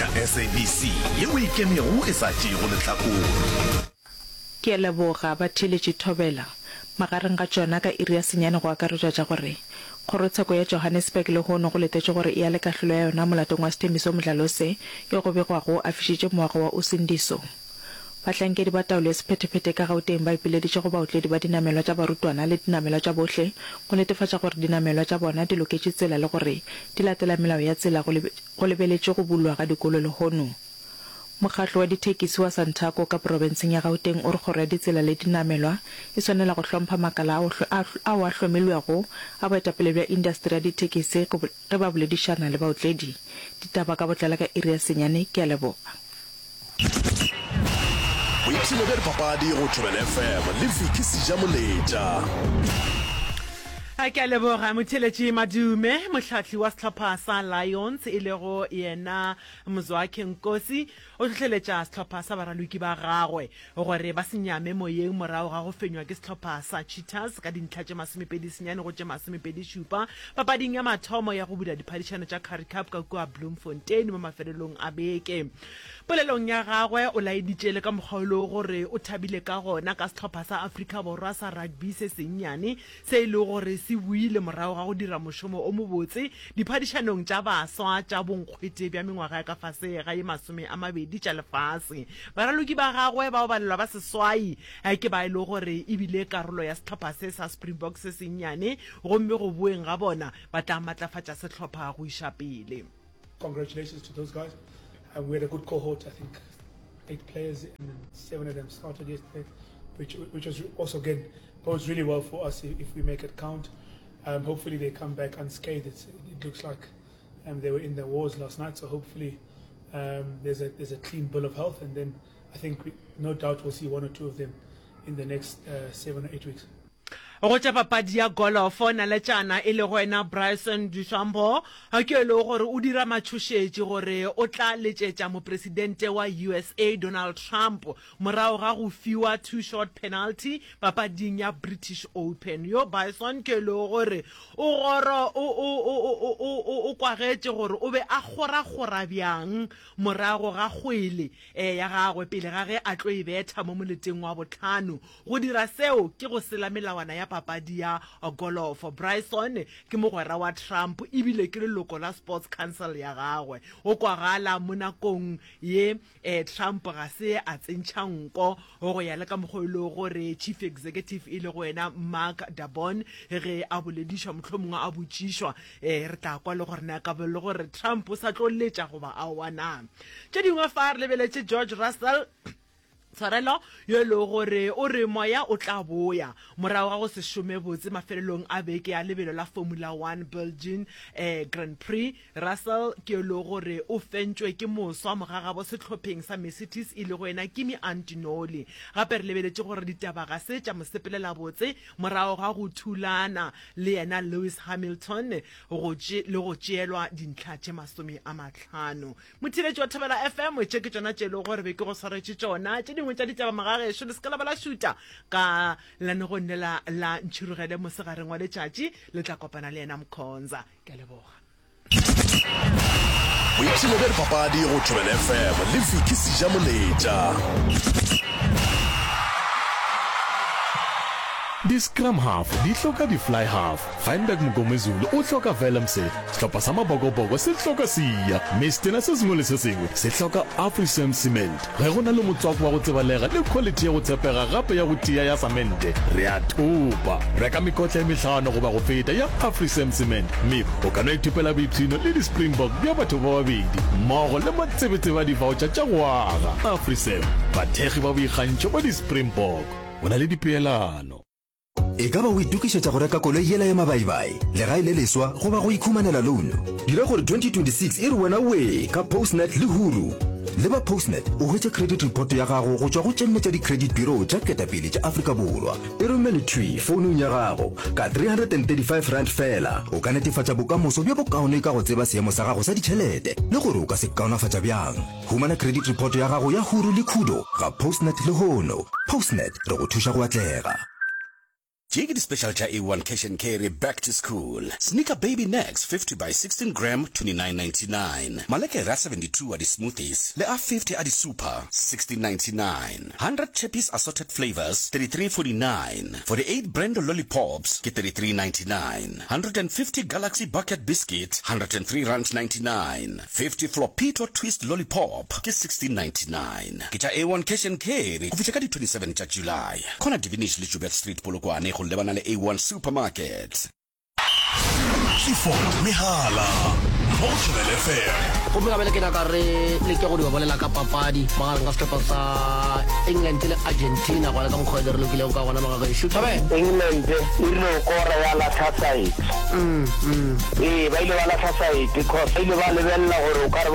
Tša SABC yeo e ikemego e sa tšeego lehlakore. Ke a leboga, batheeletši Thobela. Magareng ga tšona ka iri ya senyane go akaretšwa tša gore, Kgorotsheko ya Johannesburg lehono go letetšwe gore e ale kahlolo ya yona molatong wa Sthembiso Mdlalose yo go begwago a fišitše moago wa Usindiso. Bahlankedi ba taolo ya sephethephethe ka Gauteng ba ipileditše go baotledi ba dinamelwa tša barutwana le dinamelwa tša bohle go netefatša gore dinamelwa tša bona di loketše tsela le gore di latela melao ya tsela go go lebeletšwe go bulwa ga dikolo lehono. Mokgatlo wa dithekisi wa Santaco ka profenseng ya Gauteng o re kgoro ya ditsela le dinamelwa e swanela go hlompha makala ao ao a hlomilwego a boetapele bja indasteri ya dithekisi ge ba boledišana le baotledi. Ditaba ka botlalo ka iri ya senyane. Ke a leboga. Boipshino bja dipapadi go Thobela FM le Vicky Sejamoletša. A ke a leboga motheeletši Madume, mohlahli wa sehlopha sa Lions e lego yena Mzwakhe Nkosi o hlohleletša sehlopha sa baraloki ba gagwe gore ba se nyame moyeng morago ga go fenywa ke sehlopha sa Cheetahs ka dintlha tše 29 go tše 27 papading ya mathomo ya go bula diphadišano tša Currie Cup ka kua Bloemfontein mo mafelelong a beke. Polelong ya gagwe o laeditše le ka mokgwa o lego gore o thabile ka gona ka sehlopha sa Afrika Borwa sa rugby se sennyane se e lego gore se boile morago ga go dira mošomo o mobotse diphadišanong tša baswa tša bonkgwete bja mengwaga ya ka fase ga ye 20 tša lefase. Baraloki ba gagwe bao balelwa ba seswai ke ba e lego gore e bile karolo ya sehlopha se sa Springboks se sennyane gomme go boeng ga bona ba tla matlafatša sehlopha go iša pele. Congratulations to those guys. Uh, we had a good cohort, I think eight players and then seven of them started yesterday, which, which was also again bodes really well for us if, if we make it count. Um, hopefully they come back unscathed. It's, it looks like um, they were in the wars last night, so hopefully um, there's a there's a clean bill of health, and then I think we, no doubt we'll see one or two of them in the next uh, seven or eight weeks. Go tša papadi ya golofo, naletšana e lego yena Bryson DeChambeau ke e lego gore o dira matšhošetši gore o tla letšetša mopresidente wa USA Donald Trump morago ga go fiwa two shot penalty papading ya British Open. Yo Bryson ke e lego gore o goro o o o o o o kwagetše gore o be a kgorakgora bjang morago ga kgwele ya gagwe pele ga ge a tlo e betha mo moleteng wa bohlano. Go dira seo ke go sela melawana ya papadi ya golofo. Bryson ke mogwera wa Trump e bile ke leloko la Sports Council ya gagwe. Go kwagala mo nakong ye Trump ga se a tsentšha nko go ya le ka mokgwa o e lego gore Chief Executive e lego yena Mark Darbon ge a boledišwa mohlomongwe a botšišwa re tla kwa le gore na ka be le gore Trump o sa tlo letša goba aowa na. Tše dingwe fa re lebeletše George Russell Tshwarelo yo e lego gore o re moya o tla boya morago ga go se šome botse mafelelong a beke ya lebelo la Formula One Belgian eh, Grand Prix. Russell ke yo e lego gore o fentšwe ke moswa mogagabo sehlopheng sa Mercedes e lego yena Kimi Antonelli. Gape re lebeletše gore ditaba ga se tša mo sepelela botse morago ga go thulana le yena Lewis Hamilton go tše, le go tšeelwa dintlha tše 50. Motheeletši wa Thobela FM, tše ke tšona tše e lego gore be ke go swaretše tšona. Tše dingwe tša ditaba magagešo, le se ke la ba la šuta ka lenanegong lela la Ntšhirogele mosegareng wa letšatši, le tla kopana le yena Mkhonza. Ke a leboga. Boipshino bja dipapadi go Thobela FM le Vicky Sejamoletša. Di-scrum half di hloka di-fly half. Feinberg Mngomezulu o hloka Willemse, sehlopha sa Mabokoboko se hloka Siya, mme setena se sengwe le se sengwe se hloka Afrisem Cement. Ge go na le motswako wa go tsebalega le khwalithi ya go tshepega gape ya go tia ya samente, re a thopa. Reka mekotla e mehlano goba go feta ya Afrisem Cement mme o ka no ithopela boipshino le di-Springbok bja batho ba babedi mmogo le matsebetsebe a di-voucher tša go aga. Afrisem, bathekgi ba boikgantšho ba di-Springbok. Go na le dipeelano. E ka ba o itokišetša go reka koloi yela ya mabaibai, legae le leswa goba go ikhumanela louno? Dira gore 2026 e re wena wee ka Postnet le Huru. Leba Postnet o hwetše credit report ya gago go tšwa go tše nne tša di-credit bureau tša ketapele tša Afrika Borwa. E romele thwi founung ya gago ka R335 feela. O ka netefatša bokamoso bjo bokaone ka go tseba seemo sa gago sa ditšhelete le gore o ka se kaonafatša bjang. Humana credit report ya gago ya Huru le Khudo ga Postnet lehono. Postnet, re go thuša go atlega. Tše ke di-special tša A1 Cash and Carry Back to School. Sneaker Baby Nex 50 by 16 gram 29.99. Malekere a 72 a di-smoothies le a 50 a di-super 16.99. 100 Chappies assorted flavours 33.49. 48 Brando Lollipops ke 33.99. 150 Galaxy Bucket Biscuit R103.99. 50 Flopito Twist Lollipop ke 16.99. Ke tša A1 Cash and Carry go fihla ka di 27 tša July. Corner Divinish le Joubert Street Polokwane go lebana le A1 Supermarket. Clifford Mehala mo go Thobela FM. Gomme gabele ke nyaka re leke go dio bolela ka papadi magareng ga sehlopha sa England le Argentina go ya le ka mokgwa e re lokilego ka gona magagešo. Thobela. England e rile go kora ya lahla saete. Ee, ba ile ba lahla saete cause ba ile ba lebelela gore o ka re.